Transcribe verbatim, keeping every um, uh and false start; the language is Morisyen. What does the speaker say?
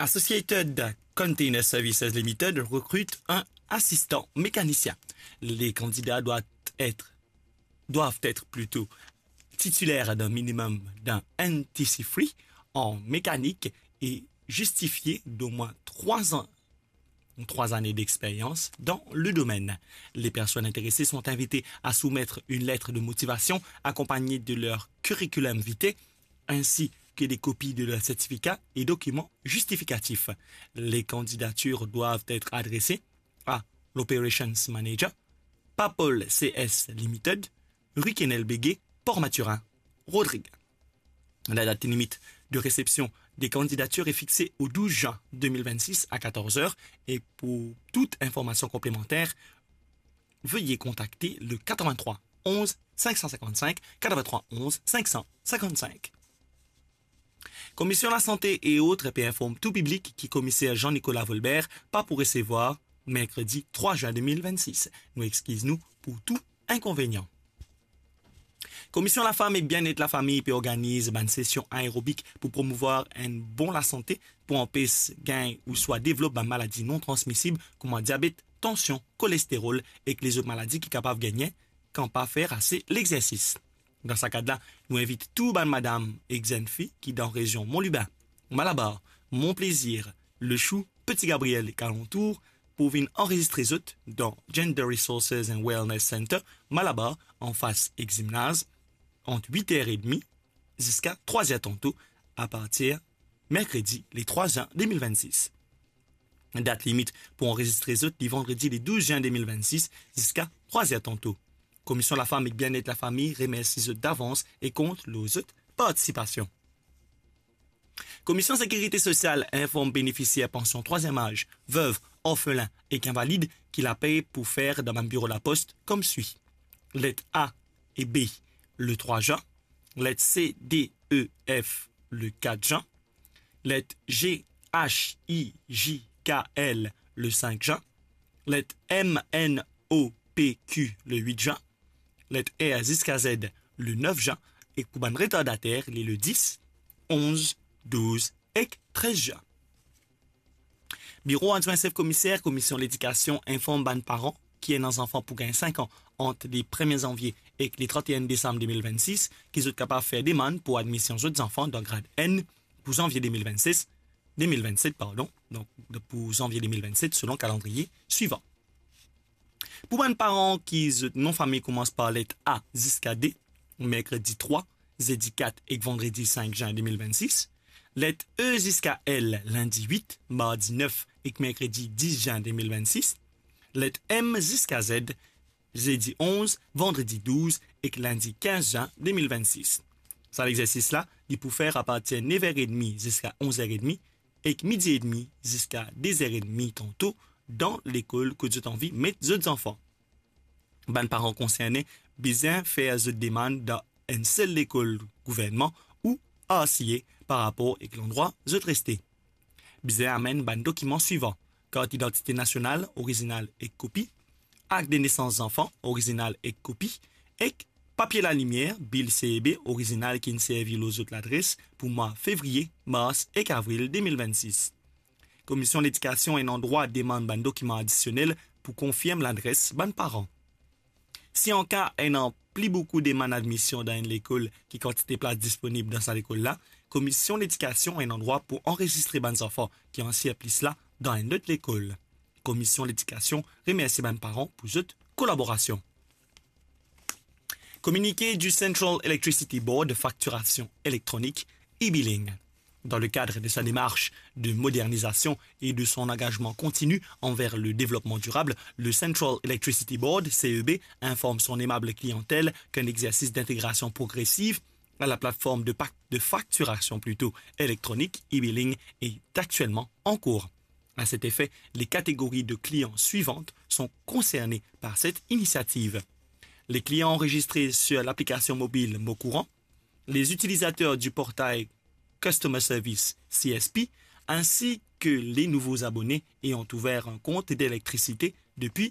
Associated Container Services Limited recrute un assistant mécanicien. Les candidats doivent être, doivent être plutôt titulaires d'un minimum d'un N T C three en mécanique et justifier d'au moins trois ans, trois années d'expérience dans le domaine. Les personnes intéressées sont invitées à soumettre une lettre de motivation accompagnée de leur curriculum vitae ainsi que des copies de leurs certificats et documents justificatifs. Les candidatures doivent être adressées à l'Operations Manager, Papol C S Limited, rue Kenel Béguet, Port-Mathurin, Rodrigues. La date limite de réception des candidatures est fixée au douze juin deux mille vingt-six à quatorze heures et pour toute information complémentaire, veuillez contacter le quatre-vingt-trois onze cinq cent cinquante-cinq, quatre-vingt-trois onze cinq cent cinquante-cinq. Commission la Santé et autres pe inform tou piblik ki Komiser Jean-Nicolas Volbert pa pou resevwar merkredi trois juin deux mille vingt-six. Nou exkiz nou pou tou inkonvenian. Commission la Femme et Bien-être la Famille pe organiz bann sesion aerobik pou promouvwar enn bon lasante, pou anpes gagn ouswa devlop bann maladi non transmisib kouma diabet, tansion, kolesterol ek lezot maladi ki kapav gagne kan pa fer ase lexersis. Dan sa kad la, nou invit tou bann madam ek zenn fi ki dan rezion Mont Lubin, Malabar, Mont Plaisir, Le Chou, Petit Gabriel ek alantour pou vinn anrezistre zot dan Gender Resources and Wellness Center, Malabar, anfas ek zimnaz, ant wit er edmi ziska trwa er tanto, apartir merkredi le trwa zin de mil vennsis. Dat limit pou anrezistre zot li vandredi le douz zin de mil vennsis ziska trwa er tanto. Komision Lafam ek Bien-être Lafami remersi zot davans e kont lor zot partisipasion. Komision Sekirite Sosial inform benefisier pansion trwaziem az, vev, orfelin ek invalid ki lapey pou fer dan bann biro Lapost koumsi: let A e B, le trwa zin; let C, D, E, F, le kat zin; let G, H, I, J, K, L, le sink zin; let M, N, O, P, Q, le wit zin; let R ziska Z, le nef zin; ek pou bann retardatater, li le dis, onz, douz ek trez zin. Biro Adwin Sef Komiser Komision Ledikasion inform bann paran ki ena zanfan pou gagn sink an ant le premie zanvie ek le trant-e-enn desam de mil vennsis ki zot kapav fer demann pou admision zot zanfan dan grad enn pou zanvie de mil vennsis, de mil vennset, pardon, donk pou zanvie de mil vennset selon kalandriye swivan. Pou bann paran ki zot nom fami koumans par let A ziska D, merkredi trwa, zedi kat ek vandredi sink zin de mil vennsis; let E ziska L, lindi wit, mardi nef ek merkredi dis zin de mil vennsis; let M ziska Z, zedi onz, vandredi douz ek lindi kinz zin de mil vennsis. Sa lexersis la, li pou fer apartir nef er edmi ziska onz er edmi, ek midi edmi ziska de zer edmi tanto dan lekol kot zot anvi met zot zanfan. Bann paran konserne bizin fer zot demann dan enn sel lekol gouvernman ou R C A par rapor ek landrwa zot reste. Bizin amenn bann dokiman swivan: kart idantite nasional, orizinal ek kopi; akt de nesans zanfan, orizinal ek kopi; ek papie lalimier, bil C E B, orizinal ki'nn servi lor zot ladres pou mwa fevriye, mars ek avril de mil vennsis. Komision Ledikasion ena drwa demann bann dokiman adisionel pou konfirm ladres bann paran. Si anka ena pli boukou demann admision dan enn lekol ki kantite plas disponib dan sa lekol la, Komision Ledikasion ena drwa pou anrezistre bann zanfan ki ansir plis la dan enn lot lekol. Komision Ledikasion remersi bann paran pou zot kolaborasion. Communiqué du Central Electricity Board, facturation électronique, e-billing. Dans le cadre de sa démarche de modernisation et de son engagement continu envers le développement durable, le Central Electricity Board, C E B, informe son aimable clientèle qu'un exercice d'intégration progressive à la plateforme de, pac- de facturation plutôt électronique, e-billing, est actuellement en cours. À cet effet, les catégories de clients suivantes sont concernées par cette initiative. Les clients enregistrés sur l'application mobile Mon Courant, les utilisateurs du portail Customer Service, C S P, ainsi que les nouveaux abonnés ayant ouvert un compte d'électricité depuis